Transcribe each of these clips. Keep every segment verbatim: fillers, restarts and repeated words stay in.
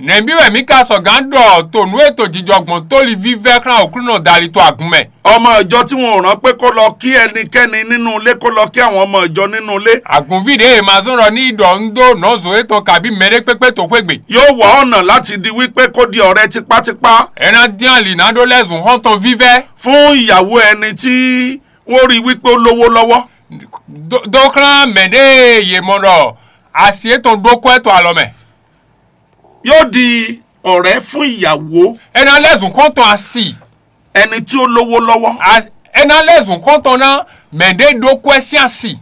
Nɛ̌bí wɛ mǐ ka sɔgǎn ɖɔ to nǔ e to jijɔ gbɔn tóli vívɛ́ xlán Aklúnɔ dali to agun mɛ? Ọmọ ìjọ tí wọn ò rán pé kó lọ kí ẹnikẹ́ni nínú ilé, kó lọ kí àwọn ọmọ ìjọ nínú ilé. Àgùnví ɖě è ma zɔ́n ɖɔ ní yi ɖɔ un dó nɔ̌zo étɔn kabí mɛɖé kpékpé toxwé gbe. Yóò wá ọ̀nà láti di wípé kó di ọ̀rẹ́ tipátipá. É ná dín alǐ ná ɖó lɛ́ zun xɔ́ntɔn vívɛ́. Fún ìyàwó ẹni tí wọ́n rí wípé ó lówó lọ́wọ́. Dó xlán mɛ̌ ɖé yě mɔ ɖɔ asi étɔn ɖó kɔ́ ɛ to alɔ mɛ. Yóò di ọ̀rẹ́ fún ìyàwó. É ná lɛ́ zun xɔ́ntɔn asi. Ẹni tí ó lówó lọ́wọ́. A- é ná lɛ́ zun xɔ́ntɔn ná mɛ̌ ɖé ɖó kɔ́ ɛ sín asi.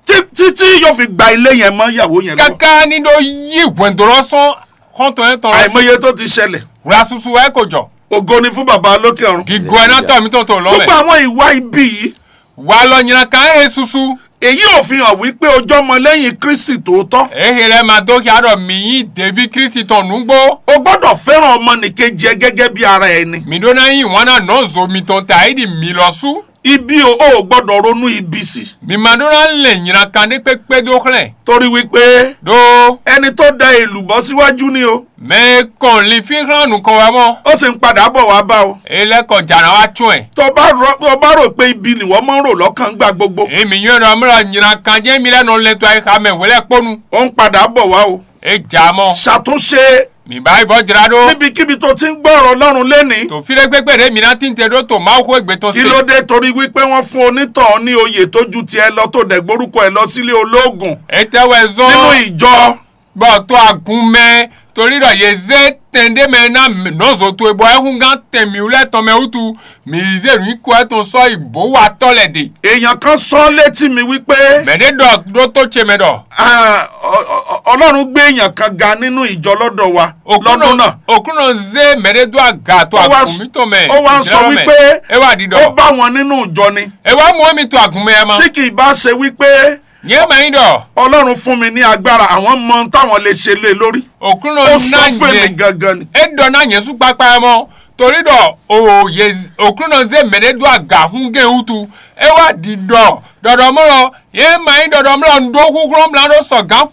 Títí yóò fi gba ilé yẹn mọ́ ìyàwó yẹn lọ. Káká ní ɖó yí hwɛ̌ndó lɔ sɔn xɔ́ntɔn yɛn tɔn lɔ. Àìmọye tó ti ṣẹlẹ̀. Wla susu wɛ kò jɔ. Ògo ni fún bàbá lókè ọ̀run. Gígó ɛ ná tɔ mí tɔn tó lɔ mɛ. Gbogbo àwọn ìwà ibi yìí. Wà lɔ nyina kan ɛ susu. Èyí ò fi hàn wípé o jẹ́ ọmọlẹ́yìn Kristi tòótọ́. Ehe lɛ ma dó xia ɖɔ mǐ nyí ɖeví Kristi tɔn nǔgbó. O gbọ́dọ̀ fẹ́ràn ọmọnìkejì ẹ gẹ́gẹ́ bí ara ẹni. Mǐ ɖó ná yí wǎn ná nɔ̌zo mitɔn ta é ɖi mǐ lɔ sú. Ibi o, o ò gbọ́dọ̀ ronú ibi sí. Mǐ ma ɖó ná lɛn nyina kan ɖé kpékpé dó xlɛ́. Torí wípé Ɖó ẹni tó da èlùbọ́ síwájú ni o. Mɛ e kɔn linfín xlán nukɔn wɛ mɔ. Ó sì ń padà bọ̀ wá bá o. Elɛkɔ jǎ ná wá tsɔ́n ɛ. Tó bá rò tó bá rò pé ibi nìwọ mọ́ rò lọ́kàn gbà gbogbo. Èmi yɔn nɔ mlɔ nyina kan jẹ́ mi lɛ nɔ lɛ to ayixa mɛ hwelɛ kponu. Ó ń padà bọ̀ wá o. E jà mɔ. Ṣàtúnṣe. Mi bá ibɔ jra ɖó. Níbikíbi tó ti ń gbọ́ ọ̀rọ̀ Ọlọ́run lénìí. Tó fíɖé gbégbé ɖé mi ná tín te ɖó tó Mawu xó égbé tɔn Kí se. Ló dé torí wípé wọ́n fún onítọ̀hún ní oyè tó ju tiẹ̀ lọ tó dẹ̀ gbórúkọ ẹ̀ lọ sílé olóògùn Etɛ wɛ zɔn. Nínú ìjọ. Bɔ to agun mɛ torí ɖɔ yě zé tɛn ɖé mɛ ná nɔzo towe bɔ ɛhúngán tɛn mǐwlɛ tɔn mɛ wútu mǐ zé nǔ kɔ ɛ tɔn sɔ́ yi bó wa tɔ́ lɛ ɖe. Èèyàn kan sọ létí mi wípé Mɛ ɖé ɖɔ ɖó tó ce mɛ ɖɔ. Ah, ọ- ọ- ọ- Ọlọ́run gbé èèyàn kan ga nínú ìjọ lọ́dọ̀ wa lọ́dún náà. Òkúnɔ zé mɛ ɖé dó aga tó Ó wá agun mítɔn mɛ. Ó wá ń sọ wípé é wá ɖiɖɔ. Ó bá wọn nínú ìjọ ni. É wá mú mi to agun mɛ ma. Tí kì í bá ṣe wípé Nyɛ ma nyí ɖɔ. Ọlọ́run fún mi ní agbára, àwọn mọ ohun táwọn lè ṣe lé lórí. Òkúnɔ Ó sọ ná fún èmi nyɛ gangan ni. É ɖɔ ná nyɛ sú kpakpa mɔ torí ɖɔ o yé òkúnɔ zé mɛ ɖé dó aga hún gé wútu. É wá ɖi ɖɔ ɖɔɖɔmɔlɔ yé ma nyí ɖɔɖɔmɔlɔ un ɖó xúxlɔ́ mla ɖó sɔgán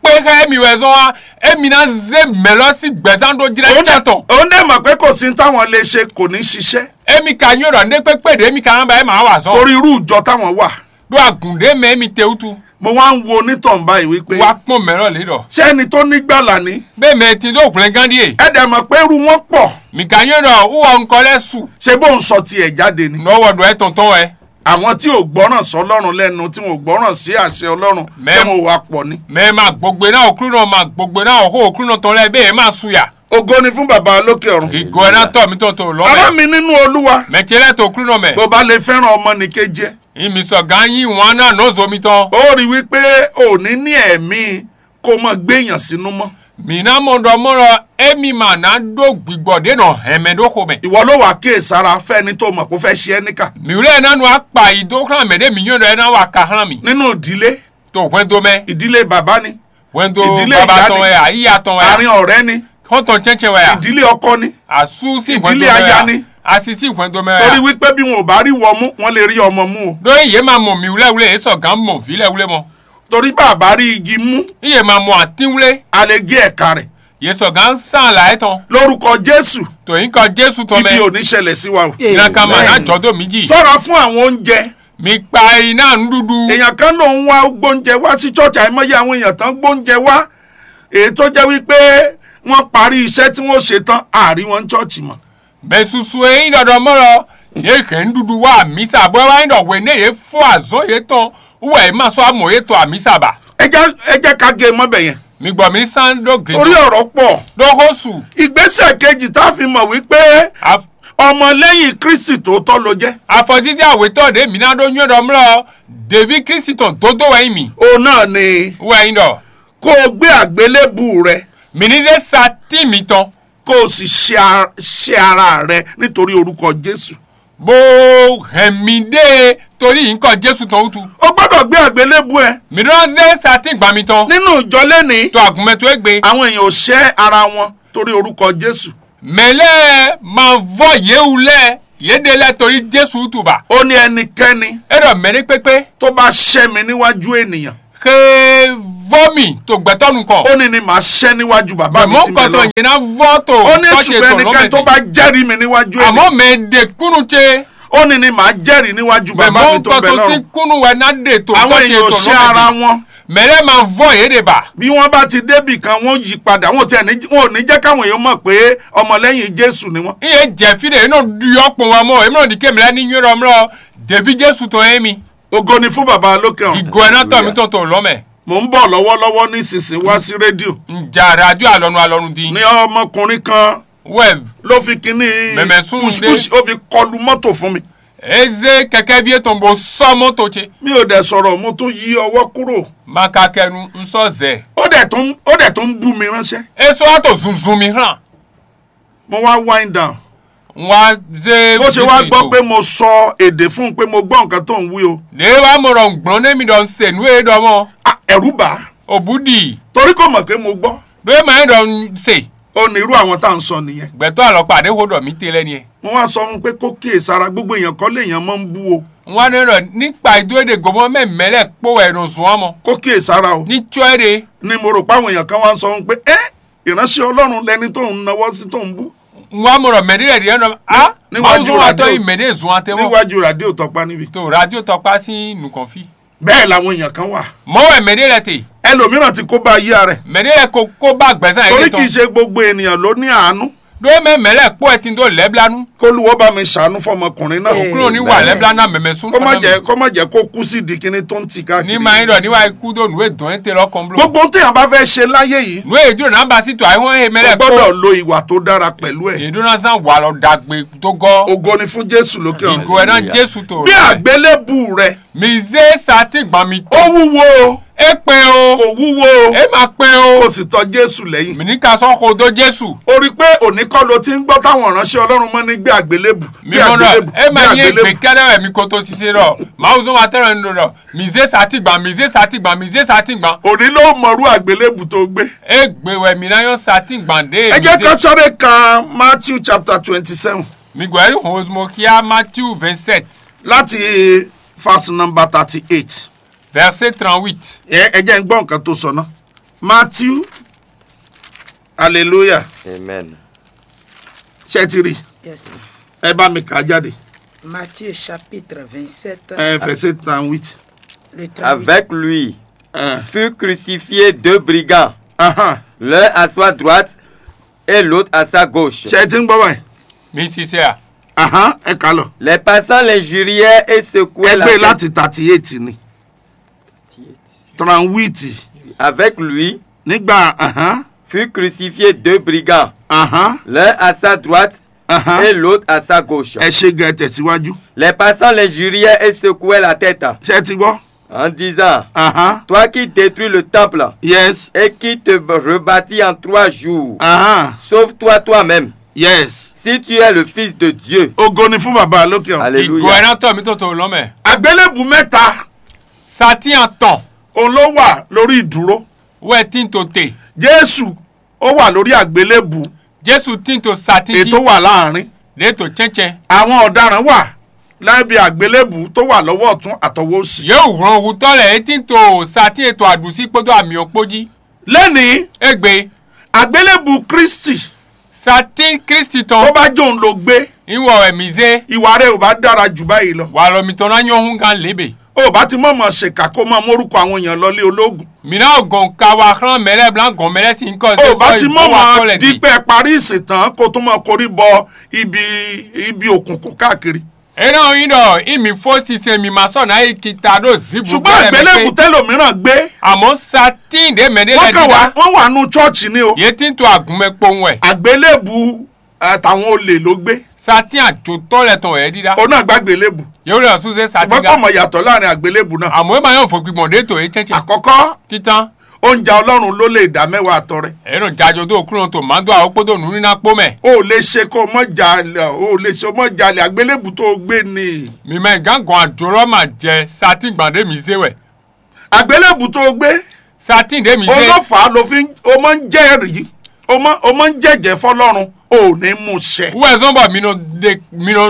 kpé xá émi wɛ zɔn wá. Émi ná zé mɛ lɔ sín gbɛzán ɖó jlɛ́ cɛ tɔn. Òun dẹ̀ mọ̀ pé kò sí táwọn lè ṣe, kò ní ṣiṣẹ́. Émi ka nyó ɖɔ ndé kpékpé ɖě émi ka ná ba é mǎ wa zɔn. Torí irú ìjọ táwọn wà. Ɖó agǔn ɖé mɛ émi te wútu. Mo wá ń wo onítọ̀hún báyìí wípé Wá kpɔ́n mɛ lɔ lě ɖɔ. Ṣé ẹni tó ní gbàlà ni? Bẹ́ẹ̀ mɛ ti dó hwlɛngán ɖíe. Ẹ dẹ̀ mọ̀ pé irú wọn pọ̀. Mì ka nyó ɖɔ wúwɔ ŋkɔ lɛ́ su. Ṣé bó ń sọ tiẹ̀ jáde ni? Nɔ wɔ ɖɔ ɛ tɔn tɔn wɛ. Àwọn tí ò gbọ́ràn sọ́lọ́run lẹ́nu, tí wọn ò gbọ́ràn sí àṣẹ Ọlọ́run, Mẹ́- tí wọn ò wá pọ̀ ni. Mɛ ma gbogbo ná òkúnɔ ma gbogbo ná òhó òkúnɔ tɔn lɛ bẹ́ẹ̀ má su yà. Ògo ni fún bàbá lókè ọ̀run. Ìgò ẹ̀ ná tọ̀ mí tɔn tó lọ́mọ. Ará mi nínú Olúwa, Mɛ ce lɛ tó òkúnɔ mɛ. Bó bá lè fẹ́ràn ọmọ nìkejì ẹ, Ìmì sọ̀gá yín wọn náà nɔ zo mi tɔn. Ó rí wípé ò ní ní ẹ̀mí kó mọ gbé èèyàn sínú mọ́. Mǐ ná mɔ ɖɔ mɔ́ lɔ émí ma ná ɖó gbigbɔ ɖě nɔ hɛn mɛ ɖó xomɛ. Ìwọ ló wàá kíyèsára fẹ́ni tó mọ̀ kó fẹ́ ṣe ẹ́ níkà. Mǐwlɛ́ ná nu akpa yi dó xlán mɛ ɖé mǐ nyɔ́ ɖɔ é ná wa ka xlán mì. Nínú ìdílé, To hwɛndo mɛ. Ìdílé bàbá ni. Hwɛndo Ìdílé baba ìyá tɔn ni. Wɛ a, yíya tɔn wɛ a. Àárín ọ̀rẹ́ ni. Xɔ́ntɔn cɛ́ncɛn wɛ a. Ìdílé ọkọ ni. Asú sí hwɛndo mɛ wɛ a. Ìdílé aya ni. Asi sí hwɛndo mɛ wɛ a. Torí wípé bí wọn ò bá rí wọ mú, wọ́n lè rí ọmọ mú o. Ɖó yě ma mɔ mǐwlɛ́wlɛ́ yě sɔgǎn mɔ vǐ lɛ́ wlé mɔ. Torí bá a bá rí igi mú, Yě ma mɔ atínwlé. A lè gé ẹ̀ka rẹ̀. Yě sɔgǎn sán là é tɔn. Lórúkọ Jésù, Tò yín kɔ Jésù tɔn mɛ. Ibi ò ní ṣẹlẹ̀ sí wa o. Ìran kan mà ná jọ dó mí jì. Sọ́ra fún àwọn oúnjẹ. Mi kpa yi ná nǔɖuɖu. Èèyàn kan ló ń wá gbóúnjẹ wá sí church, àìmọye àwọn èèyàn tán gbóúnjẹ wá. Èyí tó jẹ́ wípé wọ́n parí iṣẹ́ tí wọ́n ṣe tán, a rí wọn ní church mọ́. Mɛ susu e nyí ɖɔɖɔmɔlɔ, yě hɛn nǔɖuɖu wá amǐsa, bɔ é wá nyí ɖɔ hwě nɛ yě fó azɔ̌ yětɔn wú wɛ yě ma sɔ́ amɔ yě to amǐsa ba. Ẹ jẹ́ ẹ jẹ́ ká gé mọ́ bẹ̀ yẹn. Mi gbɔ mi sán ɖó gli. Torí ọ̀rọ̀ pọ̀. Ɖó xó su. Ìgbésẹ̀ kejì tá a fi mọ̀ wípé A- ọmọlẹ́yìn Kristi tòótọ́ ló jẹ́. Afɔjíjá wětɔn ɖě mi ná ɖó nywɛ́ ɖɔ mlɔ ɖeví Kristi tɔn dódó wɛ nyí mi. Òun náà ni Wɛ nyí ɖɔ kó o gbé àgbélébù rẹ. Mi ní zé sa tín mitɔn. Kó o sì ṣe a- ṣe ara rẹ nítorí orúkọ Jésù. Bó hɛn mi ɖe torí nyǐkɔ Jésù tɔn wútu. O gbọ́dọ̀ gbé àgbélébù ẹ. Mi ɖó zé sa tín gbǎn mitɔn. Nínú ìjọ lẹ́nìí, To àgùnmɛ towe gbe. Àwọn èèyàn ò ṣẹ́ ara wọn torí orúkọ Jésù. Mɛ lɛ́ɛ ma vɔ́ yě wú lɛ́ɛ, yě ɖe lɛ́ɛ torí Jésù wútu ba. Ó ní ẹnikẹ́ni É ɖɔ mɛ ɖé kpékpé. Tó bá ṣẹ́ mi níwájú ènìyàn, ke vɔ́ mì to gbɛtɔ́ nukɔn. Ó ní ní màá ṣẹ́ níwájú bàbá mi tí ń bẹ lọ́run. Mɔ̌kɔtɔ yẹn ná vɔ́ to. Ó ní ṣùgbọ́n ẹnikẹ́ni tó bá jẹ́rìí mi níwájú èmi. Àmọ́ mɛ ɖe kúnnú ce. Ó ní ní màá jẹ́rìí níwájú bàbá mi tó ń bẹ lọ́run. Mɔ̌kɔtɔ sí kúnnú wɛ ná ɖe to. Àwọn èèyàn ò ṣe ara wọn. Mɛ lɛ́ɛ ma vɔ́ yě ɖe ba. Bí wọ́n bá ti débì kan, wọ́n yí padà, wọn ò tiẹ̀ ní, wọn ò ní jẹ́ káwọn èèyàn mọ̀ pé ọmọlẹ́yìn Jésù ni wọ́n. Iye jɛ fí ɖe, e nɔ ɖu yɔ kpɔn wa mɔ, e mɔ ɖi ke mɛ lɛ́ɛ ní nywɛ́ ɖɔ mlɔ, ɖeví Jésù tɔn yé mi. Ògo ni fún bàbá lókè ọ̀run. Ìgò ẹ̀ náà tọ̀ mí tọ̀ tó lọ́ mɛ. Mò ń bọ̀ lọ́wọ́lọ́wọ́ nísinsìnyí wá sí rédíò. Ǹjà rájò àlọ́nu àlọ́nu dín. Ní ọmọkùnrin kan Wẹ́ ló fi kínní mɛ̀mẹ́ sún un dé. Kùsìkùsì, ó fi kọlu mọ́tò fún mi. Eze kɛkɛvi etɔn bo sɔ mɔto ce. Mi ò dẹ̀ sọ̀rọ̀, mo tún yí ọwọ́ kúrò. Makakɛnu nsɔ zɛ. Ó dẹ̀ tún, ó dẹ̀ tún ń bú mi ránṣẹ́. Eso ato zunzun mi hàn. Mo wá wind down. Wá zé. Bó ṣe wá gbọ́ pé mo sọ èdè fún un pé mo gbọ́ nǹkan tó ń wí o. Ɖe wá mo ɖɔ ŋgblɔ́n nɛ mi ɖɔ se nǔ e ɖɔ mɔ. Ah, ẹ̀rù bà á. Òbú ɖi. Torí kò mọ̀ pé mo gbọ́. Ɖo e ma nyɛ ɖɔ se. Ó ní irú àwọn tá à ń sọ nìyẹn. Gbɛtɔ́ alɔkpa ɖé xó ɖɔ mí te lɛ ni. Wọ́n wá sọ fún un pé kó kíyèsára, gbogbo èèyàn kọ́ lèèyàn máa ń bú o. Wọ́n á ní ɖɔ ní kpa ìdó èdè gòmọ́ mɛ mɛ lɛ kpó wɛ nɔ zɔn amɔ. Kó kíyèsára o. Ní tsɔ é ɖe. Ni mo rò pé àwọn èèyàn kan wá ń sọ fún un pé, ẹ́, ìránṣẹ́ Ọlọ́run lẹni tó ń nawọ́ sí tó ń bú. Wọ́n á mọ̀ ɖɔ mɛ ɖé lɛ ɖe nɔ a. Níwájú Mawuzu wa tɔ radio. Yi mɛ ɖé zɔn atɛ mɔ. Níwájú radio tɔkpa níbi. To radio tɔkpa sín nukɔn fí. Bẹ́ẹ̀ làwọn èèyàn kan wà. Mɔ wɛ mɛ ɖé lɛ te. Ẹlòmíràn ti kó bá ayé rẹ̀. Mɛ ɖé lɛ ko kó bá gbɛzán yɛ. Torí kì í ṣe gbogbo ènìyàn ló ní àánú. Ɖó mɛ mɛ lɛ kpó ɛ tin dó lɛblanu. Kólúwọ́ bá mi ṣàánú fọmọkùnrin náà. Òkúrò ní wà lɛblanu mɛmɛ sún. Kó má jẹ́, kó má jẹ́ kó kú sí di kíní tó ń tì káàkiri. Ní ma nyí ɖɔ ní wa kú dó nǔ e dɔn é te lɔ kɔn bló. Gbogbo ohun téèyàn bá fẹ́ ṣe láyé yìí, nǔ e júlò náà bá sí tó àìhɔn e mɛ ó lɛ kpó. Gbọ́dọ̀ lo ìwà tó dára pẹ̀lú ẹ̀. Èdè náà sàn wà lọ dàgbé tó gọ́. Ògo ni fún Jésù lókè ọ̀run. Ìgò ẹ̀ náà Jésù tó. Bí àgbélébù rẹ. Mi zé satín gbɔn mi. Ó wúwo o. É kpɛn o. Kò wúwo o. É ma kpɛn o. Kò sì tɔ Jésù lẹ́yìn. Mi ní ka sɔ́ xo dó Jésù. O rí i pé òní kọ́ ló ti ń gbọ́ táwọn ìránṣẹ́ Ọlọ́run máa ní gbé àgbélébù. Mi mɔ nɔ, é ma nyí ègbè kɛ́ɖɛ́ wɛ mi ko to sise ɖɔ. Mawuzɔ́n wa tɛ́ lɔ ní ɖo ɖɔ. Mi zé satín gbɔn, mi zé satín gbɔn, mi zé satín gbɔn. Òní ló mọ̀rú àgbélébù tó gbé. É gbé wɛ mi ná nyɔ́ satín gbɔn ɖé. Ẹ jẹ́ ká sáré ka Matthew chapter twenty-seven. Mi gbɔ yɛ ní hɔn ozumɔ kíá Matthew vingt-sept. Láti verse number thirty-eight. Verset trente-huit. Ẹ ẹ jẹ́ n gbọ́ nǹkan tó sọ ná. Matthew, hallelujah. Amen. Ṣé ẹ ti rí? Yes, sir. Ẹ bá mi kà á jáde. Matthieu chapitre vingt-sept, Ẹ verset trente-huit. Le trente-huit. Avec lui Ẹ. Furent crucifiés deux brigands, Ahan. L'un à sa droite et l'autre à sa gauche. Ṣé ẹ ti ń gbọ́ báyìí? Mi sisẹ́ à. Ahan, ẹ kà lọ. Les passants l'injurièrent et secouèrent la tête. Ẹ gbé láti thirty-eight ni. Trente-huit. Avec lui Nígbà ahan, furent crucifiés deux brigands, ahan, l'un à sa droite ahan. Et l'autre à sa gauche. Ẹ ṣe gan, ẹ tẹ̀síwájú. Les passants l'injurièrent et secouèrent la tête, Ṣé ẹ ti gbọ́? En disant, ahan. Toi qui détruis le temple, Yes. Et qui te rebâtis en trois jours, Ahan. Sauve-toi toi-même. Yes. Si tu es le Fils de Dieu. Ògo ni fún bàbá lókè ọ̀run. Alléluia. Ìgò ẹ̀ náà tọ̀ mí tó tó lọ́mẹ̀. Àgbélébù mẹ́ta Satin atɔn. Òun ló wà lórí ìdúró. Wɛ tin to te. Jésù, ó wà lórí àgbélébù. Jésù tin to satin jí. Ètò wà láàrin. Lè to cɛncɛn. Àwọn ọ̀daràn wà lábẹ́ àgbélébù tó wà lọ́wọ́ ọ̀tún àtọwọ́ òsì. Yóò wlɔn hutɔ lɛ e tin to satin ètò àdùsí kpódó àmì òkpó jí. Lẹ́nìí, Egbe. Àgbélébù Kristi. Satin Kristi tɔn. Tó bá jó òun ló gbé, Ìwọ wɛ mi zé. Ìwà rẹ ò bá dára jù báyìí lọ. Wà lɔ mitɔn ná nyɔ hún gán lébè. O ò bá ti mọ̀ mọ̀ ṣèkà kó máa mórúkọ àwọn èèyàn lọlé ológun. Mǐ ná gɔn ka wá xlán mɛ lɛ́ɛ blá gɔn mɛ lɛ́ɛ sín kɔ. O ò bá ti mọ̀ mọ̀ dípẹ́ parí ìsìn tán kó tún máa korí bọ ibi ibi òkùnkùn káàkiri. É ná nyí ɖɔ í mǐ fó sinsɛn mǐ ma sɔ́ ná yi kita ɖó zǐbu. Ṣùgbọ́n àgbélébù tẹ́lòmíràn gbé. Àmọ́ satín ɖě mɛ ɖé lɛ́ɛ dídá. Wọ́n wà nú chọ́ọ̀chì ni o. Yě tín to àgùnmɛ kpowun wɛ. Àgbélébù àtàwọn olè ló gbé. Satín àjòtọ́ lɛ tɔn wɛ é dídá. Òun náà gbá àgbélébù. Yóò lè sún sé satín. Ṣùgbọ́n kò mọ̀ yàtọ̀ láàrin àgbélébù náà. Àmọ́ é máa yàn fò gbígbọ̀n dé tò é tsɛ́tsɛ. Àkọ́kọ́, Títán. Oúnjẹ Ọlọ́run ló lè dá mẹ́wàá àtọ rẹ. Èyí ló jájọ tó kúrò tó máa ń dó àwọn kpódó nù nínú àpò mẹ́. O ò lè ṣe kó o mọ̀ jalè, o ò lè ṣe o mọ̀ jalè, àgbélébù tó o gbé ni. Mi mɛ gán gɔn àjò lɔ máa jẹ satín gbàdé mi zé wɛ. Àgbélébù tó o gbé, Satín ɖě mi zé. Olófà ló fi ń, o máa ń jẹ́rìí, o máa, o máa ń jẹ́jẹ́ fọlọ́run, o ò ní mú ṣẹ. Wúwɛ zɔn bɔ mi nɔ ɖe mi nɔ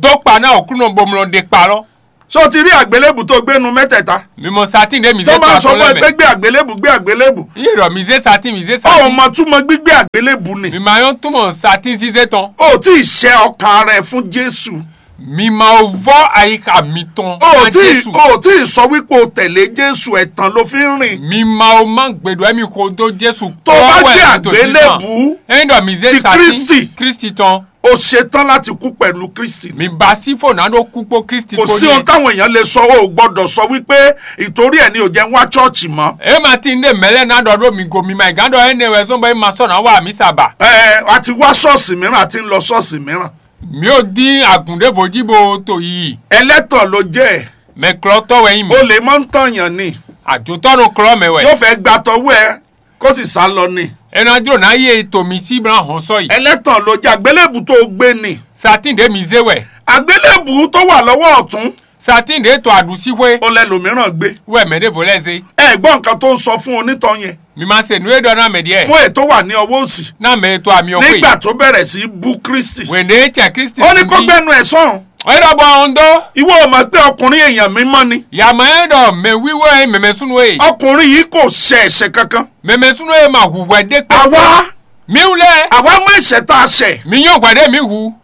dó kpa ná òkúnɔ bo mi nɔ ɖe kpa lɔ. Ṣé o ti rí àgbélébù tó gbé nu mẹ́tẹ̀ẹ̀ta? Mi mɔ satin ɖé mi Tó zé máa ń sọ tɔn fún ɛ lɛ pé mɛ. Gbé àgbélébù, gbé àgbélébù. Iye ɖɔ mi zé satin, mi zé Ó ò satin. Mọ túmọ̀ gbígbé àgbélébù ni. Mi ma yɔn túmọ̀ satin zizé tɔn. O ò tí ì ṣe ọkàn rẹ fún Jésù. Mi ma o vɔ ayixa mitɔn O ò na tí ì, Jésù. O ò tí ì sọ wípé o tẹ̀lé Jésù, ẹ̀tàn ló fi ń rìn. Mi ma o ma gbèdò emi xo dó Jésù. Tó o bá gbé àgbélébù Ẹyin ɖɔ mi zé ti satin Kristi. Kristi tɔn. O ṣetán láti kú pẹ̀lú Kristi. Mi ba sí fò náà ɖó kú kpó Kristi Kò kpó sí ohun ní. Táwọn èèyàn lè sọ, o ò gbọ́dọ̀ sọ wípé ìtorí ẹ̀ ni ò jẹ́ ń wá ṣọ́ọ̀ṣì mọ́. E ma ti ń ɖe mɛ̌ lɛ́ɛ ná ɖɔ ɖó mi go mi ma gán ɖɔ énɛ́ wɛ zɔ́n bɔ é ma sɔ́ ná wa mǐ sa ba. Ẹ, a ti wá ṣọ́ọ̀ṣì mìíràn, a ti ń lọ ṣọ́ọ̀ṣì mìíràn. Mi ò dín àgùn ɖěvo jí bo to yiyi. Ẹlẹ́tàn ló jẹ́. Mɛ klɔ́tɔ́ wɛ nyí mi. O lè mọ́ ń tàn yàn ni. Àjòtɔ́nu klɔ́ mɛ wɛ. Yóò fẹ́ gba tɔwú ɛ kó sì sá lọ ni. É ná jló ná yí e to mi sí blá hɔn sɔ yi. Ẹlẹ́tàn ló jẹ́, àgbélébù tó o gbé ni. Satin ɖě mi zé wɛ. Àgbélébù tó wà lọ́wọ́ ọ̀tún. Satin ɖě to aɖusíxwé. Ó lɛ lòmíràn gbé. Wɛ mɛ ɖěvo lɛ́ zé. Ẹ gbọ́ nǹkan tó ń sọ fún onítọ̀ yẹn. Mi ma se nǔ e ɖɔ ná mɛ ɖiɛ. Fún ètò wà ní ọwọ́ òsì. Ná mɛ ètò àmì ọ̀pẹ. Nígbà tó bẹ̀rẹ̀ sí í bú Kristi. Wèndé cɛ Kristi. Ó ní kó gbẹnu ẹ̀ sọ̀n. Ẹ ɖɔ bɔ ɔn dó. Ìwọ ò mọ̀ pé ọkùnrin èèyàn mímọ́ ni. Yàmọ̀ ẹ ɖɔ mɛ wíwọ́ ẹ mɛmɛ súnú ẹ. Ọkùnrin yìí kò ṣe ẹ̀ṣẹ̀ kankan. Mɛmɛ súnú ẹ ma hu hwɛ ɖé kpé. Àwa. Mi wú lɛ. Àwa mọ ẹ̀ṣẹ̀ tá a ṣẹ̀. Mi yóò hwɛ ɖé mi hu.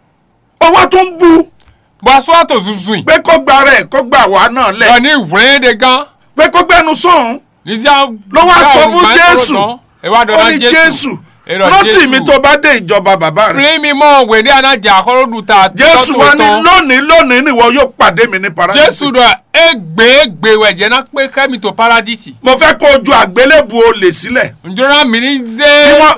Ó wá tún bú. Bɔ a sɔ́ wá to zunzun. Pé kó gba rẹ̀, kó gba àwa náà lẹ̀. Lọ ní whlɛ́n ɖe gán. Pé kó gbẹnu sọ̀n. Ní sí a. Ló wá sọ fún Jésù. Ẹ wá dọ̀nà Jésù. Ó ní Jésù. Rántí mi tó bá dé ìjọba bàbá rẹ. Flin mi mɔ wèndé aná jà xɔlóɖu ta. Jésù wá ní lónìí, lónìí ni ìwọ yóò pàdé mi ní paradísì. Jésù ɖɔ égbé égbé wɛ jẹ́ ná kpé xẹ́ mi to paradísì. Mo fẹ́ kó o ju àgbélébù olè sílẹ̀. Ǹjọ́nà mi ní zé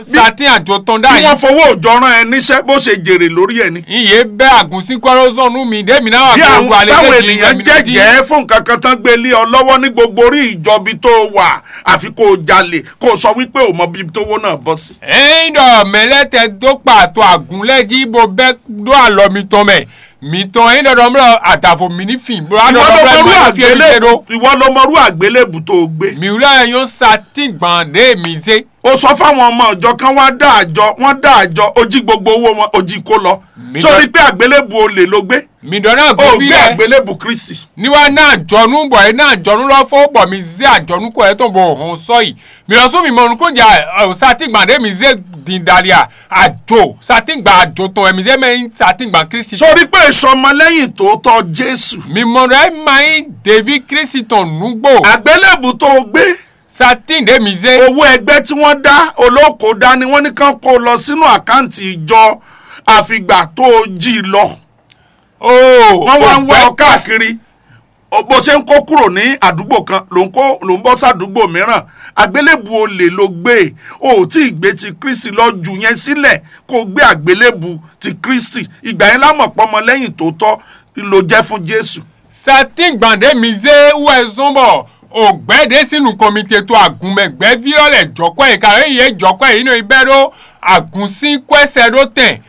satin àjò tán dá yìí. Bí wọ́n fowó òjò rán ẹ níṣẹ́ bó ṣe jèrè lórí ẹ ni. Iye bẹ́ àgùnsín kọ́lọ́sán nú mi dé mi náà wà. Bí àwọn táwọn ènìyàn jẹ́jẹ́ fún nǹkan kan tán gbé lé ọ lọ́wọ́ ní gbogbo orí ìjọbi tó o wà, àfi kó o jalè, kó o sọ wípé o mọ bí tó wó náà bọ́ sí. Ẹyin ɖɔ mɛ lɛ tɛ dó kpa to àgùn lɛ jí bó bɛ ɖó alɔ mitɔn mɛ. Mitɔn ẹyin ɖɔɖɔ mlɔ adavo mi ní fin bó. Ìwọ ló mọrú àgbélébù tó o gbé. Mi wúlò yẹn yóò sa tí gbọ̀n dé mi zé. O sọ fáwọn ọmọ ìjọ kan wá dá àjọ, wọ́n dá àjọ, o jí gbogbo owó wọn, o jí kó lọ. Torí pé àgbélébù olè ló gbé. Mi ɖɔ náà gbé fi lɛ. O gbé àgbélébù Kristi. Ní wá ná àjọnú bɔ é ná àjọnú lɔ fó bɔ mi zé àjọnú kó ɛ tɔn bɔ hɔn sɔ yi. Mi lɔ sún mi mɔ nukún jà ɔ satígbà ɖé mi zé din dali a àjò satígbà àjò tɔn ɛ mi zé mɛ nyí satígbà Kristi. Torí pé ìṣọmọlẹ́yìn tòótọ́ Jésù. Mi mɔ ɖɔ ɛ ma nyí ɖevi Kristi tɔn nǔgbò. Àgbélébù tó o gbé. Satin ɖě mi zé. Owó ẹgbẹ́ tí wọ́n dá olóko dání, wọ́n ní kán kó lọ sínú àkáǹtì ìjọ àfìgbà tó o jí i lọ. Wọ́n wá ń wá ọ káàkiri. Bó ṣe ń kó kúrò ní àdúgbò kan, ló ń kó ló ń bọ́ sádùúgbò mìíràn. Àgbélébù olè ló gbé. O ò tí ì gbé ti Kristi lọ jù yẹn sílẹ̀ kó o gbé àgbélébù ti Kristi. Ìgbà yẹn lámọ̀ pọ́nmọ lẹ́yìn tòótọ́ ló jẹ́ fún Jésù. Satin gbàndé mi zé wɛ zɔn bɔ o gbɛ ɖe sín nukɔn mi te to agun mɛ gbɛvi lɔ lɛ jɔkwɛ yi ka yi ye jɔkwɛ yi nɔ yi bɛ ɖo agun sín kwɛsɛ ɖo tɛn,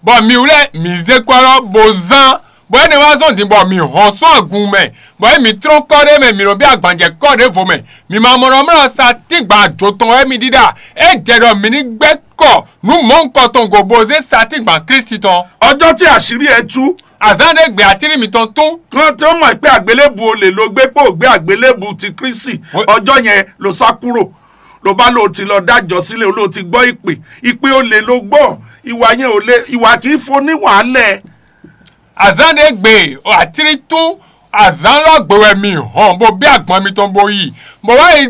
bɔ mi wlɛ mi zé kɔ lɔ bo zán, bɔ ɛnɛ wá zɔn din bɔ mi hɔn sɔn agun mɛ, bɔ yi mi trɔn kɔ ɖe mɛ mi nɔ bi agbanjɛ kɔ ɖe vo mɛ, mi ma mɔ nɔ mlɔ satin gban ajo tɔn wɛ mi ɖiɖa, e jɛ ɖɔ mi ní gbɛ kɔ nú mɔ̌hunkɔtɔn go bo zé satin gban Kristi tɔn. Ọjọ́ tí àṣírí ẹ tú. Azán ɖé gbé atírí mitɔn tún. Kan tí ó mọ̀ pé àgbélébù olè ló gbé pé ò gbé àgbélébù ti Kristi. Ọjọ́ yẹn ló sá kúrò, ló bá lóò ti lọ dájọ́ sílé, ló ti gbọ́ ìpè. Ìpè olè ló gbọ́. Ìwà yẹn ò le, ìwà kì í fo ní wàhálẹ̀. Azán ɖé gbé atírí tún. Azán lɔ gbé wɛ mi hɔn bó bí agbɔn mitɔn bó yi, bó wá yi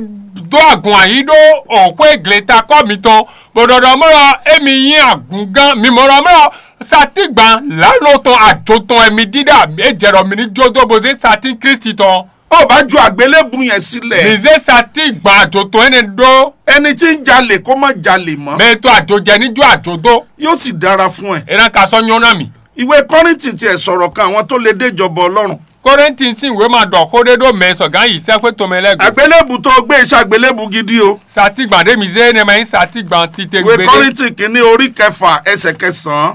dó agun ayí ɖó òxwé gletakɔ mitɔn, bó ɖɔɖɔ mɔ lɔ émi nyí agungán mi mɔ lɔ mɔ lɔ satígban lǎlo tɔn ajo tɔn wɛ mi ɖíɖá é jɛ ɖɔ mi ní jó dó bó zé satín Kristi tɔn. Ó bá ju àgbélébùú yẹn sílẹ̀. Mi zé satígban ajo tɔn énɛ́ ɖó. Ẹni tí ń jalè kó má jalè mọ́. Mɛ e to ajo jɛ ní jó ajo dó. Yóò sì dára fún ẹ. É ná ka sɔ́ nyɔ́ ná mì. Ìwé Kọ́ríńtì tiẹ̀ sọ̀rọ̀ kan àwọn tó lè dé ìjọba Ọlọ́run. Kɔ́ríntì sín wěma ɖɔ xó ɖé ɖó mɛ sɔgán yi sɛ́xwé tomɛ lɛ́ɛ gbe. Àgbélébù tó gbé iṣẹ́ àgbélébù gidi o. Satígban ɖé mi zé énɛ́ ma nyí satígban titewungbe ɖé. Ìwé Kọ́ríńtì kìíní orí kẹfà ẹsẹ̀ kẹsàn-án.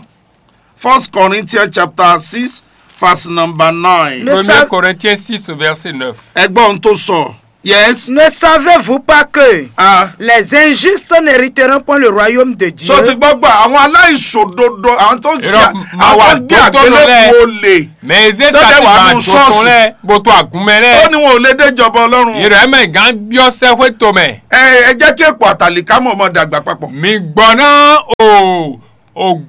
First Corinthians chapter six, verse number nine. Le Premier Corinthiens six, verset neuf. Ẹ gbọ́ ohun tó sọ. Yes. Ne savez-vous pas que Ah. Les injustes n'hériteront point le royaume de Dieu? So ti gbọ́ gbà, àwọn aláìṣòdodo, àwọn tó ń ṣe, Irọ́, máa wà àwọn tó gbé tó lọ àgbélébùú lẹ. Olè. Mɛ e zé Tó dẹ̀ wà tati nù gbà tó ṣọ́ọ̀ṣì. Tɔn lɛ, bó tó àgúnmɛ Ó lɛ. Ní wọn ò lè déjọba Ọlọ́run. Ìrẹ́ mɛ gán byɔ́ sɛ́xwé tomɛ. Ẹ ẹ jẹ́ kí èpò àtàlíkámọ̀ ọmọ dàgbà papọ̀. Mi gbɔ ná o o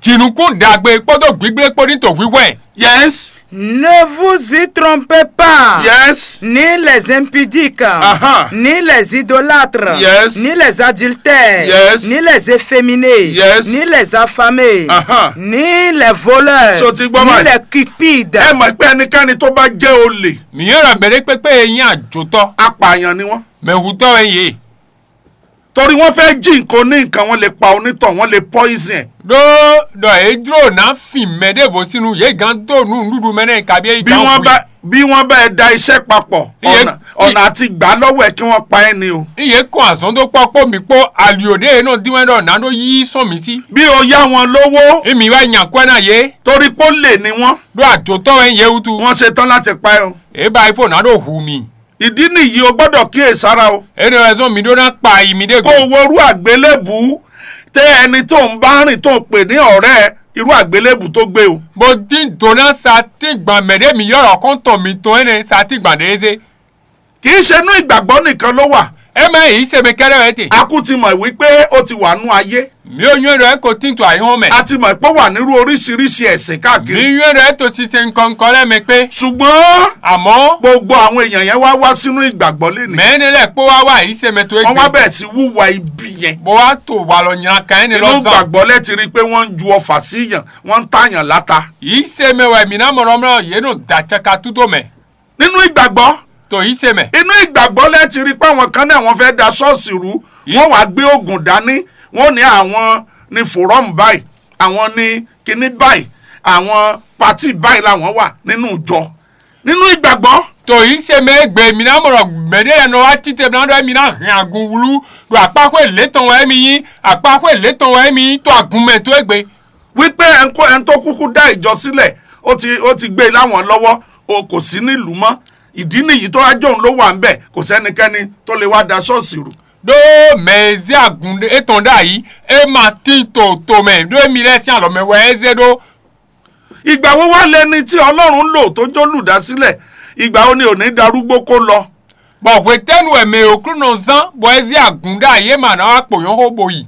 jinukún ɖagbe kpódó gbígblékpó ní tòhwíhwɛ́. Yes. Ne vous y trompez pas. Yes. Ni les impudiques, Aha. Ni les idolâtres, Yes. Ni les adultères, Yes. Ni les efféminés, Yes. Ni les affamés, Aha. Ni les voleurs, So ti gbọ́ Ni báyìí. Les cupides. Ẹ mọ̀ pé ẹnikẹ́ni tó bá jẹ́ olè, Miyɔn ɖɔ mɛɖé kpékpé e nyí àjòtɔ, apààyàn ni wọ́n. Mɛhutɔ wɛ yé. Torí wọ́n fẹ́ jí nǹkan ní nǹkan, wọ́n lè pa onítọ̀, wọ́n lè poison ẹ̀. Ɖó ɖɔ é jló ná fin mɛ ɖěvo sín nú yě gán dó nú nǔɖuɖu mɛ nɛ́ kabí é Bí gán wọ́n hu bá bí wọ́n bá ẹ da iṣẹ́ papọ̀, Iye- ọ̀nà ọ̀nà àti gbà á lọ́wọ́ ẹ̀ kí wọ́n pa ẹ́ ni o. Iye kɔn azɔn dó kpɔ́ kpó mì kpó ali ò ɖé e nɔ dín wɛ ɖɔ nǎ ɖó yí sɔn mì sí. Bí o yá wọn lówó Imi wá nya kwɛ ná yé. Torí pé ó lè ní wọ́n, Ɖó àjòtɔ wɛ yé wútu. Wọ́n ṣe tán láti pa ẹ́ o. Eba ifo nǎ ɖó hu mì. Ìdí nìyí o gbọ́dọ̀ kíyèsára o. Énɛ́ wɛ zɔ́n mi ɖó ná kpa ayi mi ɖé Kó o go. Worú àgbélébùú tẹ́ ẹni tó ń bá rìn tó ń pè ní ọ̀rẹ́ ẹ, irú àgbélébùú tó gbé o. Bó dín dǒ ná satíngban mɛ ɖé mi yɔ́ ɖɔ xɔ́ntɔn mitɔn énɛ́ satíngban ɖě zé. Kì í ṣe inú ìgbàgbọ́ nìkan ló wà. É mɛ yìí se mi kɛ́ɖɛ́ wɛ te. A kú ti mọ̀ wípé ó ti wà nú ayé. Mi ò nyɔ́ ɖɔ é ko tín to ayé hɔn mɛ. A ti mọ̀ pé ó wà nírú oríṣiríṣi ẹ̀sìn Mi káàkiri. Nyɔ́ ɖɔ é to sise nukɔn nukɔn lɛ́ɛ mɛ kpé. Ṣùgbọ́n Àmọ́ gbogbo àwọn èèyàn yẹn wá wá sínú ìgbàgbọ́ lénìí. Mɛ énɛ́ lɛ́ɛ kpó wá wá yìí se mɛ tó é Wọ́n wá gbé. Bẹ̀rẹ̀ sí wúwa ibi yẹn. Bó wá to walɔ nyaka énɛ́ Inú lɔ zán. Ìgbàgbọ́ lẹ́ ti rí i pé wọ́n ń ju ọfà sí yàn, wọ́n ń tàyàn láta. Yìí se mɛ wɛ mǐ ná mɔ ɖɔ mlɔ yě nɔ da caka tútó mɛ. Nínú ìgbàgbọ́, To yìí se mɛ. Inú ìgbàgbọ́ lẹ́ ti rí i pé àwọn kan náà wọ́n fẹ́ da ṣọ́ọ̀ṣì rú. Wọ́n wá gbé oògùn dání. Wọ́n ní àwọn ní forum báyìí, àwọn ní kinní báyìí, àwọn pati báyìí làwọn wà nínú ìjọ. Nínú ìgbàgbọ́, To yìí se mɛ e gbe mǐ ná mɔ ɖɔ mɛɖé lɛ́ɛ nɔ wá títɛ mǐ ná ɖɔ émí ná hɛn agun wlú ɖo akpáxwé lě tɔn wɛ émí nyí, akpáxwé lě tɔn wɛ émí nyí to agun mɛ tó égbe. Wípé ẹni tó kúkú dá ìjọ sílẹ̀, ó ti ó ti gbé e láwọn lọ́wọ́, o kò sí nílùú mọ́. Ìdí nìyí tó wá jóun ló wà ńbẹ̀, kò sẹ́nikẹ́ni tó lè wá da ṣọ́ọ̀ṣì rú. Ɖó mɛ e zé agun étɔn ɖ'ayǐ, é ma tín to tomɛ, ɖó émí lɛ́ɛ sín alɔ mɛ wɛ é zé ɖó. Ìgbà wo wá lẹni tí Ọlọ́run lò tó jó lùdásílẹ̀? Ìgbà wo ni ò ní darúgbó kó lọ? Bɔ hwetɛ́nu wɛ mɛ e Aklúnɔ zán bɔ é zé agun ɖ'ayǐ é ma ná wá kpǒ nyɔ́ xó bo yi?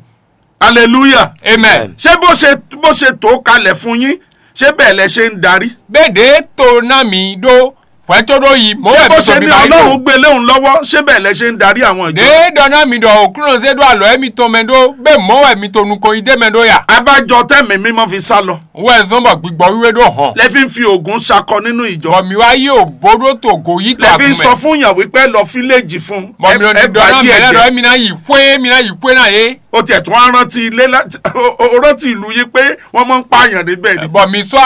Aleluya! Amen. Ṣé bó ṣe bó ṣe tó kalẹ̀ fún yín, ṣé bẹ́ẹ̀ lẹ ṣe ń darí? Bó ɖě to ná mi ɖó hwɛ̌ có ɖó yi, mɔ̌ Ṣé wɛ bó mi ṣe sɔ mi ní ma yi Ọlọ́run ɖo? Gbé léun lọ́wọ́, ṣé bẹ́ẹ̀ lẹ ṣe ń darí àwọn ìjọ? Ɖě ɖɔ ná mi ɖɔ Aklúnɔ zé ɖó alɔ émitɔn mɛ ɖó, bó mɔ̌ wɛ mi to nukɔn yi d'é mɛ ɖó ya? Abájọ tɛ́ mǐmí mɔ fi sá lɔ. Wɛ zɔ́n bɔ gbigbɔ wíwé ɖó hɔn. Lẹ fi ń fi oògùn ṣakọ nínú ìjọ. Bɔ mi wá yí òbó ɖó to gǒ yí to Lẹ fi ń agun sọ mɛ. Fún yàn wípé ẹ lọ fíléèjì fún. Bɔ mi ò ní ɖɔ ná mɛ lɛ́ɛ ɖɔ émi ná yi xwé, émi ná yi xwé ná yé. Ó tiẹ̀ tún á rántí ilé láti ó rántí ìlú yín pé wọ́n máa ń pààyàn níbẹ̀ ni. Bɔ mi sɔ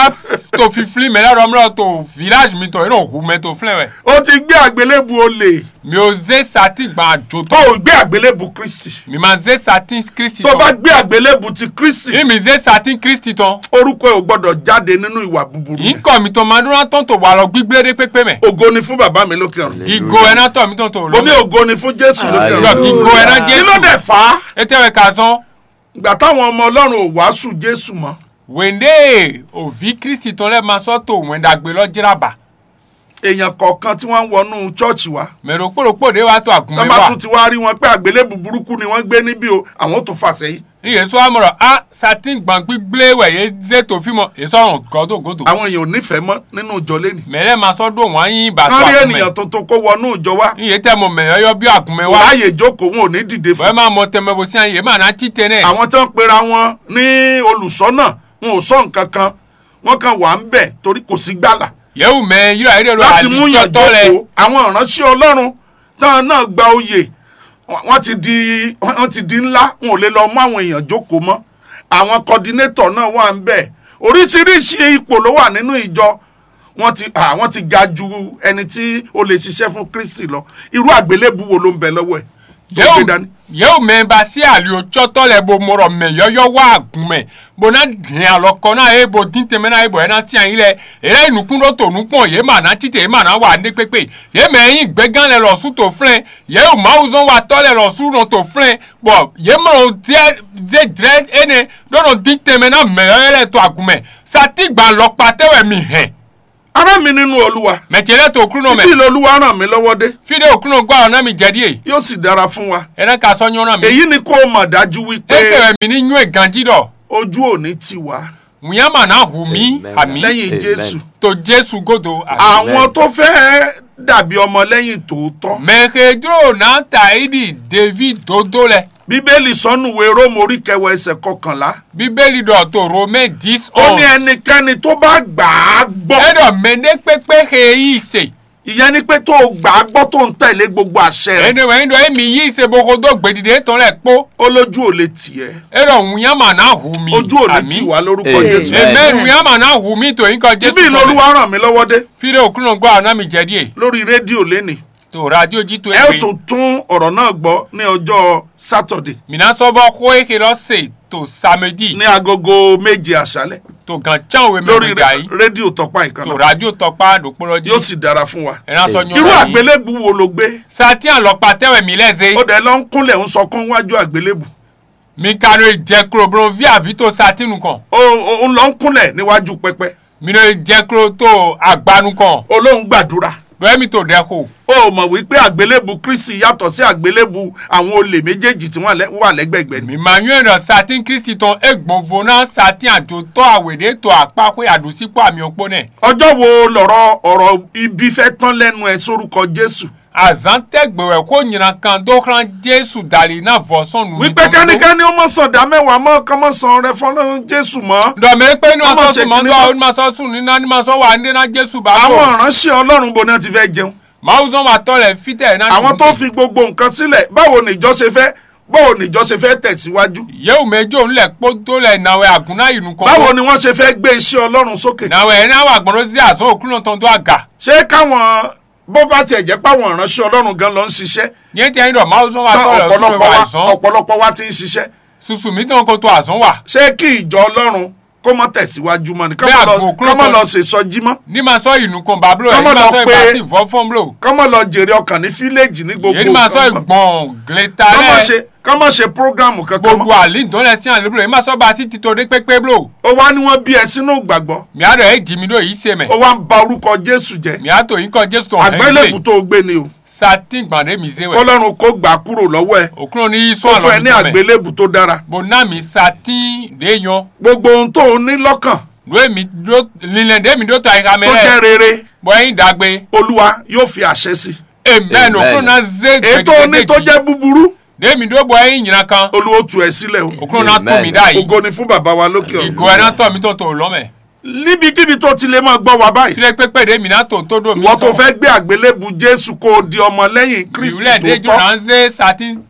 to fifli mɛ lɛ́ɛ ɖɔ mlɔ to village mi tɔ yìí nɔ hu mɛ to flɛn wɛ. Ó ti gbé àgbélébù olè. Mi ò zé satin gbà jò Tó tɔ. O gbé àgbélébù Kristi. Mi ma zé satin Kristi Tó o bá tɔ. Gbé àgbélébù ti Kristi. Mi mi zé satin Kristi tɔ. Orúkọ ẹ̀ ò gbọ́dọ̀ jáde nínú ìwà búburú yẹn. Nkɔ mi tɔ ma ɖó ná tɔn to walɔ gbígbé ɖé kpékpé mɛ. Ògo ni fún bàbá mi lókè ọ̀run. Gigo ɛ ná tɔ mi tɔn to Mo ní lo. Ògo ni fún Jésù lókè Yɔ ọ̀run. Gigo ɛ ná Kí ló Jésù. Dẹ̀ fà á? Ete wɛ ka zɔn. Ìgbà táwọn ọmọ Ọlọ́run ò wàásù Jésù mọ́. Wende òvi Kristi tɔn lɛ ma sɔ to wɛn ɖagbe lɔ jra ba. Èèyàn kọ̀ọ̀kan tí wọ́n ń wọnú chọ́ọ̀chì wa. Mɛ ɖokpó ɖokpó ɖé wá to agun Tọ́ mɛ bá wá. Tún ti wá rí wọn pé àgbélébù burúkú ni wọ́n gbé níbí o, àwọn ò tún fà sẹ́yìn. Ní Yéṣu wá mɔ ɖɔ á satín gbàngbígblé wɛ yě zé to fí mɔ yě sɔ́ hɔn gɔ́ dó gǒdo. Àwọn èèyàn ò nífẹ̀ẹ́ mọ́ nínú ìjọ lẹ́nu. Mɛ lɛ́ɛ ma sɔ́ ɖó wǎn yí ba Wọ́n sɔ́ rí agun mɛ. Ènìyàn tuntun kó wọnú ìjọ wá. Ní yě tɛ mɔ mɛ yɔ́yɔ́ bí agun mɛ Kò wá. Ráyè jókòó, wọn ò ní dìde Bɔ́ fún. Ẹ má mɔ tɛnmɛ bó sín yě má ná cí tɛnɛ́. Àwọn tó ń pera wọn ní olùṣọ́nà, wọn ò sọ nǹkan kan. Wọ́n kàn wà ń bẹ̀ torí kò sí gbàlà. Yẹ́wù mɛ ylɔ́ ayé ɖé ló Láti mú yàn àlìjọ́tọ́ lɛ. Jókòó, àwọn ìránṣẹ́ Ọlọ́run táwọn náà gba oyè, wọ́n ti di wọ́n ti di ńlá, wọn ò lè lọ mú àwọn èèyàn jókòó mọ́. Àwọn coordinator náà wà ń bẹ̀. Oríṣiríṣi ipò ló wà nínú ìjọ. Wọ́n ti ah, wọ́n ti ga ju ẹni tí ó lè ṣiṣẹ́ fún Kristi lọ. Irú àgbélébù wo ló ń bẹ lọ́wọ́ ẹ̀? Yě wú mɛ ba sí ali ɔ́ cɔ́tɔ́ lɛ́ɛ bó mɔ ɖɔ mɛ yɔ́yɔ́ wá agun mɛ, bó ná hɛn alɔkɔ ná yě, bó dín tɛnmɛ ná yě, bɔ é ná tín ayǐ lɛ́ɛ. Yě lɛ́ yi nǔkún ɖó to nǔkpɔ́n, yě ma ná cí te, yě ma ná wa nɖé kpékpé. Yě mɛ e nyí gbɛ́gán lɛ́ɛ lɔ sú to flɛ́n, yě wú mawuzɔ́nwatɔ́ lɛ́ɛ lɔ sú nɔ to flɛ́n, bɔ yě mɔ zé jlɛ́ énɛ́ ɖó nɔ dín tɛnmɛ ná mɛ yɔ́yɔ́ lɛ́ɛ to agun mɛ. Satígban lɔkpa tɛ́ wɛ mi hɛn? Ará mi nínú Olúwa. Mɛ ce lɛ́ɛ to Aklúnɔ mɛ. Ibi l'Olúwa ràn mí lọ́wọ́ dé. Fí ɖé Aklúnɔ gɔ́ alɔ ná mi jɛ ɖíe. Yóò sì dára fún wa. É ná ka sɔ́ nyɔ́ ná mi. Èyí ni kó o mọ̀ dájú wípé. É kɛ wɛ mǐ ní nywɛ́ ganjí ɖɔ. Ojú ò ní tì wá. Wǐnyáma ná hu mí. Àmín. Lẹ́yìn Jésù. To Jésù gúdo. Àwọn tó fẹ́ dàbí ọmọlẹ́yìn tòótọ́. Mɛ he jló ná ta yi ɖi deví dódó lɛ. Bíbélì sɔ nú we Rómu orí kẹwàá ẹsẹ̀ kọkànlá. Bíbélì ɖɔ to Romain dix. Ó ní ẹnikẹ́ni tó bá gbà á gbọ́. É ɖɔ mɛ ɖé kpékpé he yí se. Ìyẹn ni pé tó o gbà á gbọ́ tó ń tẹ̀lé gbogbo àṣẹ rẹ̀. Ene wɛ ɖɔ emi yí se bo xo dó gbeɖiɖe tɔn lɛ kpó. Ó lójú ò lè tì ẹ́. É ɖɔ wǔnyáma ná hu mi. Ojú ò lè tì wá lórúkọ Jésù. Amen. Wǔnyáma ná hu mi to nyíkɔ Jésù. Ibi l'Olúwa ràn mí lọ́wọ́ dé. Fí ɖé Aklúnɔ gɔ́ alɔ ná mi jɛ ɖíe. Lórí rédíò lénìí. To radio jí to ẹ ó tún tún ọ̀rọ̀ náà gbọ́ ní ọjọ́ sátọ̀dé. Mǐ ná sɔ́ vɔ́ xó e xe lɔ se to samedi. Ní agogo méje àṣálẹ́. To gǎn cánwe mɛ lórí gbèjà yìí. Rédíò tɔpá ìkànnà. To radio tɔpá ɖokpó lɔ jí. Yóò sì dára fún wa. Ẹ ná sɔ nyɔ́. Irú àgbélébù wo ló gbé? Satin alɔkpa tɛ wɛ mǐ lɛ zé. Ó dẹ̀ lọ ń kúnlẹ̀ ń sọkún wájú àgbélébù. Mi ka nɔ yi jɛ klo bló ví avǐ to satin nukɔn. O o ń lọ ń kúnlẹ̀ níwájú pẹpẹ. Mi nɔ yi jɛ klo to agba nukɔn. Olóhùn gbàdúrà. Bẹ́ẹ̀ mi to ɖɛ xo. O mọ̀ wípé àgbélébù Kristi yàtọ̀ sí àgbélébù àwọn olè méjèèjì tí wọ́n wà lẹ́gbẹ̀gbẹ́ ni. Mi ma nyɔ́ ɖɔ satin Kristi tɔn e gbɔnvo ná satin àjòtɔ́ àwěɖé to akpáxwé àɖǔsíkpó amyɔkpó nɛ. Ọjọ́ wo lọ̀rọ̀ ọ̀rọ̀ ibi fẹ́ tán lẹ́nu ẹ sórúkọ Jésù? Azǎn tɛ́ gbe wɛ xó nyina kan dó xlán Jésù dali ná vɔ̌ sɔn nǔ. Wípé kẹ́nikẹ́ni ó mọ̀ sàn dá mẹ́wàá mọ́ kán mọ̀ sàn rẹ fọ́n Jésù mọ́. Ɖɔ mɛ kpé ní ma sɔ́ sùn mọ́ dó àwọn ní ma sɔ́ sùn ní ná ní ma sɔ́ wà ní ná Jésù bá. Àwọn ìránṣẹ́ Ọlọ́run bo náà ti fẹ́ jẹun. Mawuzɔn wa tɔ lɛ fitɛ ná. Àwọn tó fi gbogbo nǹkan sílẹ̀, báwo ni ìjọ ṣe fẹ́ báwo ni ìjọ ṣe fẹ́ tẹ̀síwájú? Yéwu mɛ jó ń lẹ̀ kpódó lɛ nà wɛ àgùn ná yi nukɔn. Báwo ni wọ́n ṣe fẹ́ gbé iṣẹ́ Ọlọ́run sókè? Nà wɛ ẹ ná wà gbọ́n dó zé àzɔn òkúnlọ́tɔn dó àgà. Ṣé káwọn bó bá tiẹ̀ jẹ́ pé àwọn ìránṣẹ́ Ọlọ́run gan lọ ń ṣiṣẹ́? Yẹn ti ẹni ɖɔ Mawuzɔn wa tɔ lɛ òsùn wa àzɔn. Ọ̀pọ̀lọpọ̀ wa ti ń ṣiṣẹ́. Susu mi tɔn ko to àzɔn wa. Ṣé kí ìjọ Ọlọ́run kó má tẹ̀síwájú mọ́ ni? Ká má lọ ṣe sọjí mọ́. Ní ma sọ ìnù kan bá bló ẹ̀, ní ma sọ ìgbà sí ìfọ́fọ́n bló. Ká má lọ jèrè ọkàn ní fíléèjì ní gbogbo. Yé ní ma sọ ìgbọ̀n gleta lẹ́. Ká má ṣe programu kankan mọ́. Gbogbo àlíndọ́n lẹ sí àlébùlọ̀, ní ma sọ bá sí tito dé pépé bló. Ó wá ní wọ́n bí ẹ sínú ìgbàgbọ́. Mi á dọ̀ ẹ́ jì mí ɖo yìí se mɛ. Ó wá ń ba orúkọ Jésù jẹ́. Mi á tó yín kọ́ Jésù tọ̀ hẹ́n. Àgbélébùú tó o gbé ni o. Satin gbàdé mi zé wɛ. Kọ́lọ́run kó gbà á kúrò lọ́wọ́ ẹ. Òkúrò ní yí sún àlọ́ mi tán mẹ́. Ó fún ẹ ní àgbélébùú tó dára. Bó ná mi satin ɖě nyɔ. Gbogbo ohun tó o ní lọ́kàn. Lóye mi ɖó linlɛn ɖě mi ɖó ta ìha mɛ lɛ. Tó jẹ́ rere. Bɔ yin dagbe. Olúwa yóò fi àṣẹ sí. Amen. Òkúrò ná zé gbẹdẹgbẹdẹ. Ètò oní tó jẹ́ búburú. Ɖě mi ɖó bɔ yin nyina kan. Olúwa ó tú ẹ sílẹ̀ o. Òkúrò ná tó mi dá yìí. Ògo ni fún bàbá wa lókè ọ̀run. Ìgò ẹ̀ ná tọ̀ mi tó tó lọ́ mẹ́. Níbikíbi tó ti lè máa gbọ́ wa báyìí. Kílẹ̀ pépé ɖé mi ná tó tó ɖo mi sọ. Ìwọ tó fẹ́ gbé àgbélébù Jésù kó o di ọmọ lẹ́yìn Kristi tòótọ́. Ìwúlẹ̀ déjọ́ náà ń zé satin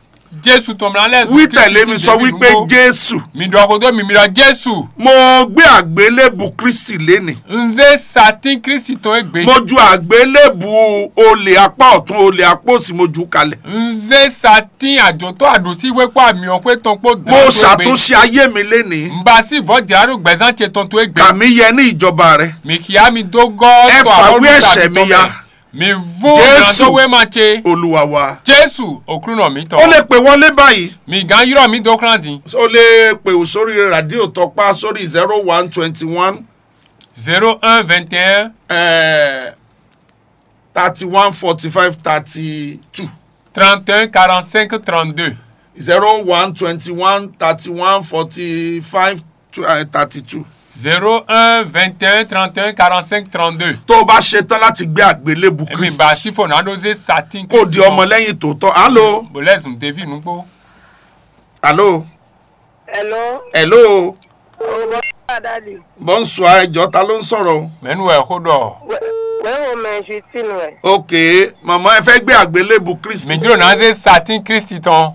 Jésù tɔn mìíràn lɛ. Wí tẹ̀lé mi sọ wípé Jésù. Mi ɖɔ xó dó mi, mi ɖɔ Jésù. Mo gbé àgbélébù Kristi lénìí. N zé satin Kristi tɔn égbé. Mo ju àgbélébù olè apá ọ̀tún, olè apá òsì, mo jù ú kalẹ̀. N zé satin àjòtó àdùsí wé kpó àmì ọ̀pẹ tɔn kpó dán. Mo ṣàtúnṣe ayé mi lénìí. N ba sí vɔ̌ jǎɖó gbɛ̀zán ce tɔn tó égbé. Kà mí yẹ ní ìjọba rẹ. Mi xia mi dó gɔ́. Ẹ fàwé ẹ̀ṣẹ̀ mi ya. Mi vú Jésù. Ìrànlọ́wọ́ máa ṣe. Olúwa wa. Jésù òkúrúnà mi tọ́. Ó lè pè wọlé báyìí. Mi gán yúrọ̀ mi dó kúrán dín. Ó lè pè ò sórí rádíò tọpá sórí zero one twenty one. Zero un vingt et un. Thirty one forty five thirty two. Trente et un quarante cinq trente deux. Zero one twenty one thirty one forty five thirty two. Zero un vingt et un trente et un quarante cinq trente deux. Tó o bá ṣe tán láti gbé àgbélébù Kristi. Èmi bá sí fònà ló zé satin. Kó o di ọmọlẹ́yìn tòótọ́. Alo. Bòlẹ́sùn dévi nùgbó. Alo. Hello. Hello. Oh, bonsoir, Daddy. Bonsoir, ẹ jọ̀ọ́, ta ló ń sọ̀rọ̀ o? Mẹ́nu ẹ̀ kó dọ̀. Wẹ́wọ̀n mẹ́ Justine wẹ̀. Ok, màmá ẹ fẹ́ gbé àgbélébù Kristi. Mi dúró náà ṣe satin Kristi tán.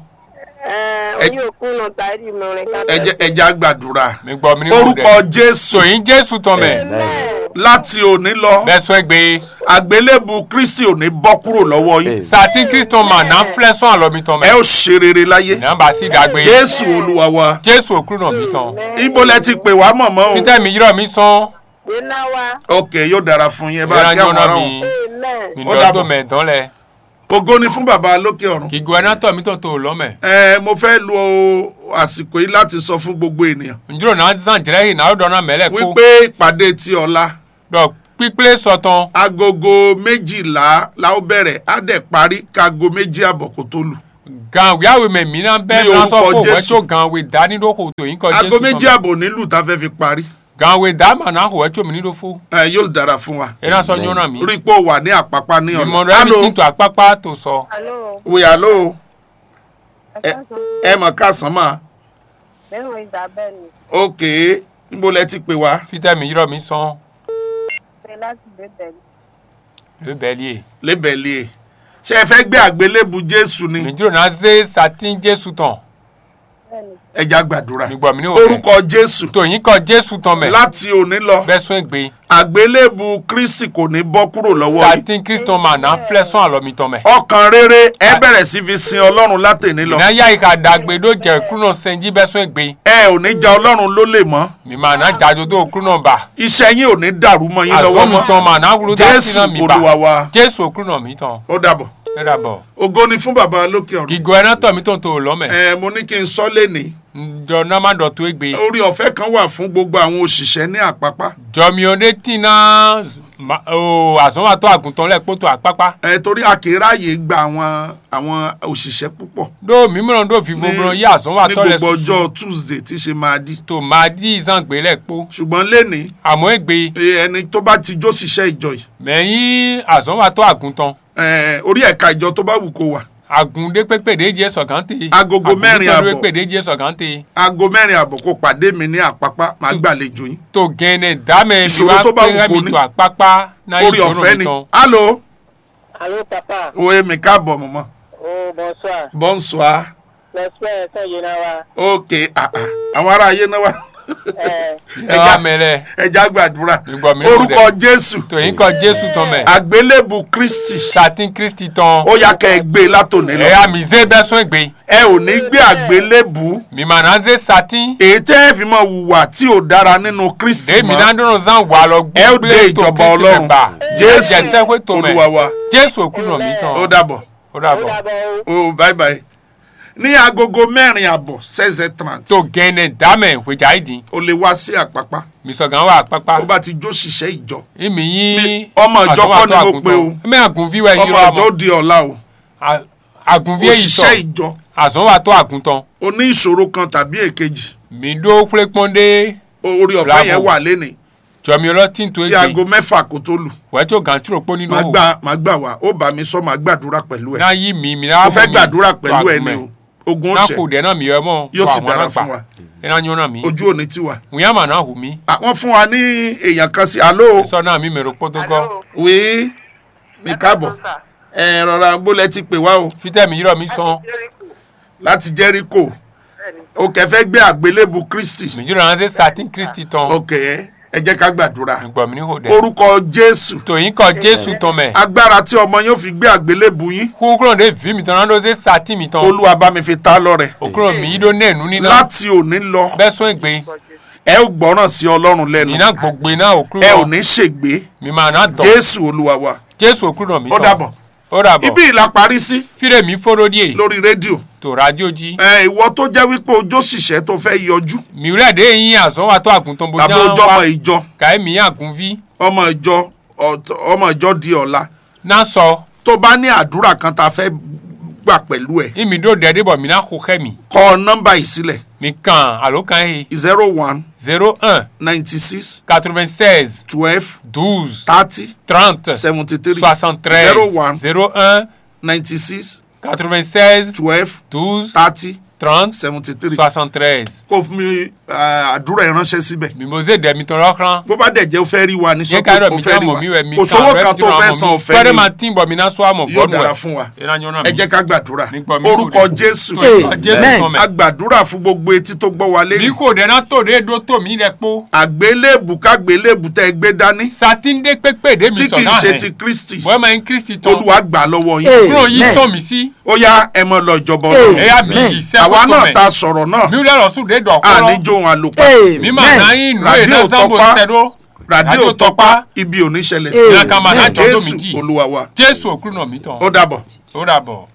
Ẹ oyin òkun nọ ta ẹ di mọ rẹ ká. Ẹ jẹ́ ẹ jẹ́ á gbàdúrà. Mi gbọ́ mi ní mo dẹ̀. Orúkọ Jésù. Sòyìn Jésù tán mẹ́. Amen. Láti òní lọ. Bẹ́ẹ̀ sọ ẹ gbé. Àgbélébù Kristi ò ní bọ́ kúrò lọ́wọ́ yín. Satin Kristo ma ná flɛ́ sɔ́n alɔ mitɔn mɛ. Ẹ ó ṣe rere láyé. Nà bá sí dàgbé. Jésù Olúwa wa. Jésù Òkúrúnà mitɔn. Ibo lẹ ti pè wá mọ̀mọ́ o. Peter mi yírọ̀ mi sán. Yé ná wá. Ok, yóò dára fún yín. Ẹ bá Yóò kí àwọn nyɔ́nà ará wọn. Mi. Amen. Mi Ó dɔn dàbọ̀. Tó mɛ dán lɛ. Ògo ni fún bàbá lókè ọ̀run. Kì í gbọ́ ẹná tọ̀ mí tọ̀ tó lọ́ mɛ. Ẹ, mo fẹ́ lo àsìkò yìí láti sọ fún gbogbo ènìyàn Njúlò náà zán jìrẹ́ yìí náà ó dɔn ná mɛ lɛ kó. Wípé ìpàdé ti ọ̀la Ɖɔ kpíkplé sɔ tɔn. Agogo méjìlá la ó bẹ̀rẹ̀, á dẹ̀ parí kágo méjì àbọ̀ kó tó lù. Gan wíyáwé mɛ mí ná bɛ́ Ní ná sɔ́ orúkọ kó wɛ́ Jésù. Tó gan we dání ɖó xo tó yín kɔ Aago Jésù méjì tɔn. Àbọ̀ nílùú tá a fẹ́ fi parí. Gan we dá mà ná xo wɛ́ tó mí ní ɖó fó. Ẹ yóò dára fún wa. É ná sɔ́ nyɔ́ ná mí. Rí pé o wà ní àpápá ní Mí ọ̀la. Mɔ ɖɔ Alo. Ẹni tún tó àpápá tó sọ. Alo, Oui, alo. Ẹ ẹ káàsán. Ẹ mọ̀ káàsán mà. Bẹ́ẹ̀ Isabel ni. Ok. Níbo lẹ ti pè wá? Fítẹ́ mi yírọ̀ mi sán. Ṣé láti Bébẹ̀lì? Lébẹ̀lì e. Lébẹ̀lì e. Ṣé ẹ fẹ́ gbé àgbélébù Jésù ni? Mi jíròrò ná zé satín Jésù tɔn. Bẹ́ẹ̀ni. Ẹ já gbàdúrà. Mi gbọ́ mi ní òwe. Orúkọ Jésù. Tó yín kọ Jésù tɔn mɛ. Láti òní lọ. Bẹ́ẹ̀ sún ègbé. Àgbélébù Kristi kò ní bọ́ kúrò lọ́wọ́ yín. Satín Kristo mà ná flẹ́ sún àlọ́ mi tɔn mɛ. Ọkàn rere ẹ bẹ̀rẹ̀ sí fi sin Ọlọ́run látẹ̀ní lọ. Ná yá ìka dàgbé ɖó jɛ kúnɔ sɛnjí bɛ́ sún ègbé. Ẹ ò ní ja Ọlọ́run lólè mọ́. Mi mà ná jajo dó kúnɔ ba. Iṣẹ́ yín ò ní dàrú mọ́ yín lọ́wọ́ mọ́. Azɔn mi tɔn mà ná wúlú dá Jésù sí náà mi ba. Olúwa wa. Jésù kúnɔ mi tɔn. Ó dàbọ̀. Ẹ dàbọ̀. Ògo ni fún Bàbá lókè ọ̀run. Gígọ ẹ ná tọ̀ mí tɔn tó lọ́ mɛ. Ẹ, mo ní kí n sọ lénìí. Ǹjọ́ ná má ɖɔ tó égbé. Orí ọ̀fẹ́ kan wà fún gbogbo àwọn òṣìṣẹ́ ní Àpápá. Jɔmiɔ ɖé tín ná ma- o azɔnwatɔ àgùntàn lɛ kpótó àkpákpá. Ẹ, torí a kì í ráàyè gba àwọn àwọn òṣìṣẹ́ púpọ̀ Ɖó mǐ mlɔ ɖó vivo ní mlɔ yí ní azɔnwatɔ lɛ gbogbo susu. Ọjọ́ Tuesday tí ṣe máa dí. Tó máa dí zán gbé lɛ kpó. Ṣùgbọ́n lénìí, Àmọ́ égbé, e, ẹni tó bá ti jó ṣiṣẹ́ ìjọ yìí, Mɛ yí azɔnwatɔ àgùntàn. Ẹ, orí ẹ̀ka ìjọ tó bá wù kó wà. Àgùn ɖé pépé ɖé jẹ́ sọ̀gán te. Agogo Àgùn mẹ́rin pépé àbọ̀. Pépé ɖé jẹ́ sọ̀gán te. Aago mẹ́rin àbọ̀ kó pàdé mi ní Àpápá, màá gbàlejò yín. Tó gẹ̀ẹ́nẹ̀ dá mɛ mi Ìṣòro wá tó bá wù pé kó mi ní. Tó àpápá náà yí Orí ìṣòro ọ̀fẹ́ mi ni. Tán. Alo. Allô, papa. Oye, mi káàbọ̀, mọ̀mọ́. Oh, bonsoir. Bonsoir. Lọ́sẹ̀ ẹ̀sán yìí náà wá. Ok, ah, ah. Àwọn ará ayé náà wá. Ẹ Ẹ já mẹ lẹ. Ẹ já gbàdúrà. Ìgbà mi ló Orúkọ dẹ̀. Jésù. Tó yín kọ Jésù tán mẹ. Àgbélébù Kristi. Satin Kristi tán. Ó yá kẹ́ ẹ gbé e látòní lọ. Ẹ yá mi zé bẹ́ sún ègbé. Ẹ ò ní gbé àgbélébù. Mi mà ná zé satin. Èyí tẹ́ ẹ fi máa hùwà tí ò dára nínú Kristi Dèmi mọ́. Ná dúró zán wà lọ Ẹ ó dé gbé tó ìjọba Kristi Ọlọ́run. Mẹ́ bà. Jésù Ẹ jẹ́ sẹ́kù tó mẹ́. Olúwa wa. Jésù òkú nà mí tán. Ó dàbọ̀. Ó Ó dàbọ̀. dàbọ̀ o. Oh, bye bye. Ní agogo mẹ́rin àbọ̀, seize heures trente. Tó gẹ̀ẹ́nẹ̀ dámẹ̀ hwèjà yìí dín. O lè wá sí Àpápá. Mi sọ̀gán wà Àpápá. Ó bá ti jó ṣiṣẹ́ ìjọ. Ìmì yín. Ọmọ ìjọ kọ́ ni mo pe o. Mẹ́ àgùnfí wẹ̀ yín Ọmọ ìjọ ó di ọ̀la o. Àgùnfí èyí sọ. Òṣìṣẹ́ ìjọ. Àzán wà tó àgùntàn. O ní ìṣòro kan tàbí èkejì. Mi ɖó xwlékpɔ́n ɖé. Orí ọ̀fẹ́ yẹn Bravo. Wà lénìí. Jɔmi lɔ tí n to Kí aago egbe. Mẹ́fà kó tó lù. Wɛ tso gan tro kpó nínú Màá o. Gbà màá gbà wá. Ó bá mi sọ, màá gbàdúrà pẹ̀lú ẹ. Ná yí mi mi Mo ná fẹ́ gbàdúrà pẹ̀lú ẹ ni o. Ogun Ná ọ̀sẹ̀ kò dẹ̀ náà mi yọ mọ́. Yóò sì dára fún wa. Ẹ ná nyɔ náà mi. Ojú òní tiwa. Wíyá mà ná hù mí. Ah, wọ́n fún wa ní èèyàn kan sí. Alo. Sọ náà mi mèrò kpótó gọ́. Alo. Oui. Mi káàbọ̀. Ẹ rọra bó lẹ ti pè wá o. Fitẹ́ mi yírọ̀ mi sán. Láti Jẹ́ríkò. Bẹ́ẹ̀ni. O kẹ́ fẹ́ gbé àgbélébù Kristi. Mi yírọ̀ ránṣẹ́ satin Kristi tán. Ok, ẹ jẹ́ ká gbàdúrà. Gbọ̀ mí ní hò dẹ̀. Orúkọ Jésù. Tòyín kọ Jésù tán mẹ́. Agbára tí ọmọ yóò fi gbé àgbélébù yín. Kúkúrò ní èví mi tán náà ló ṣe satin mi tán. Olúwa bá mi fi ta lọ́rẹ. Òkúrò mi yí dó ní ẹ̀nú níná. Láti òní lọ. Bẹ́ẹ̀ sún ègbé. Ẹ ó gbọ́ràn sí Ọlọ́run lẹ́nu. Nínà gbogbo iná òkúrò. Ẹ ò ní ṣègbé. Mi máa ná dọ̀. Jésù Olúwa wa. Jésù òkúrò mi tán. Ó dàbọ̀. Ó dàbọ̀. Ibi ìlà parí sí. Fílẹ̀ mi fóró díẹ̀. Lórí rédíò. Tó rádió jí. Ẹ, ìwọ tó jẹ́ wípé ojó ṣìṣẹ́ tó fẹ́ yọjú. Mi wúlẹ̀ dé yín àzọ́ wa tó àgùntàn bó Tàbí já ojú ọmọ wá. Ìjọ. Kàí mi àgùnví. Ọmọ ìjọ, ọ̀t-, ọmọ ìjọ di ọ̀la. Ná sọ. Tó bá ní àdúrà kan tá a fẹ́ gbà pẹ̀lú ẹ. Ìmì dó dẹ́dẹ́ bọ̀ mí ná xo xẹ́ mi. Kọ nọ́mbà yìí sílẹ̀. Mi kàn àló kan yìí. Zero one. Zéro un. Ninety six. Quatre-vingt-seize. Twelve. Douze. Thirty. Trente. Seventy three. Soixante-treize. Zero one. Zéro un. Ninety six. Quatre-vingt-seize. Twelve. Douze. Thirty. Trente. Seventy three. Soixante-treize. Kó fún mi, àdúrà ẹ ránṣẹ́ síbẹ̀. Mimoze ɖɛ mitɔn lɔ xlán. Bó bá dẹ̀ jẹ́ o fẹ́ rí wa ní sọ́kò, o fẹ́ rí wa. Kò sówó kan tó fẹ́ san, o fẹ́ rí. Kpɛɖe ma tín bɔ mi ná sɔ amɔ. Yóò dára fún wa. Ẹ jẹ́ ká gbàdúrà. Orúkọ Jésù. Amen. A gbàdúrà fún gbogbo etí tó gbọ́ wa lé. Mi kò dẹ̀ ná tó ɖe ɖó tó mi lẹ kpó. Àgbélébù kágbélébù tẹ́ gbé dání. Satin ɖé kpékpé ɖé mi sɔ náà hɛn. Tí kì í ṣe ti Kristi. Bɔn ma nyí Kristi tɔn. Olúwa gbà lọ́wọ́ yín. Kúrò yín sọ mi sí. Ó yá, ẹ mọ lọ ìjọba Ọlọ́run. Ẹ yá mi yìí sẹ́. Àwa náà ta sọ̀rọ̀ náà. Mi lọ lọ sùn dé dọ̀ kọ́. Àní jó wọn àlòpà. Mi ma ná yín nù ẹ̀ náà sábò tẹ̀dó. Ràdíò Tọ́pá, ibi ò ní ṣẹlẹ̀ sí. Ìyá kan máa ná jọ tó mi jì. Jésù Olúwa wa. Jésù òkúrú náà mi tán. Ó dàbọ̀. Ó dàbọ̀.